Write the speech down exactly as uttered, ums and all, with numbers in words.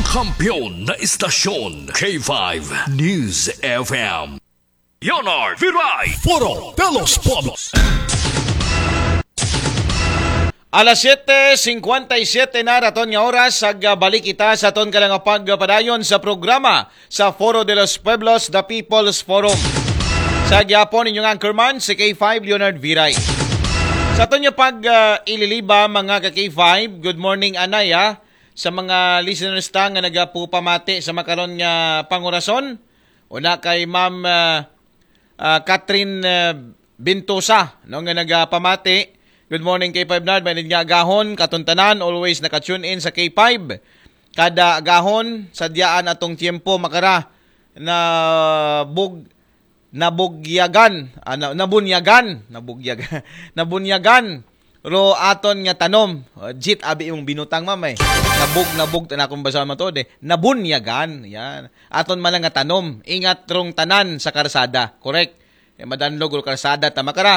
Kampiyon na istasyon, K five News F M. Leonard Viray. Foro de los Pueblos. Alas siyete singkwenta y siyete na raton nga oras, ag, ah, balik kita sa aton kalang pagpadayon sa programa sa Foro de los Pueblos, The People's Forum. Sa gyapon inyong anchorman, si K five Leonard Viray. Sa aton nga pag, ah, ililiba, mga ka K five, good morning, anay, ah, sa mga listeners ta nga nagapupamati sa makaron nga pangurason. Una kay Ma'am, ah, ah, Catherine, ah, Bintosa, no, nga nagapamati. Good morning, K five Nard. Mainit nga agahon, katon tanan, always naka-tune in sa K five. Kada agahon, sadyaan atong tiyempo, makara, na bug-, nabugyagan, ah, na, nabunyagan, nabugyagan, nabunyagan, ro aton nga tanom. Oh, Jit, abi imong binutang, ma'am, eh. Nabug, nabug, na akong basa mo to, de. Nabunyagan, yan. Aton man nga tanom, ingat rong tanan sa karsada, correct? Eh, madanlog ro karsada, tama ka ra?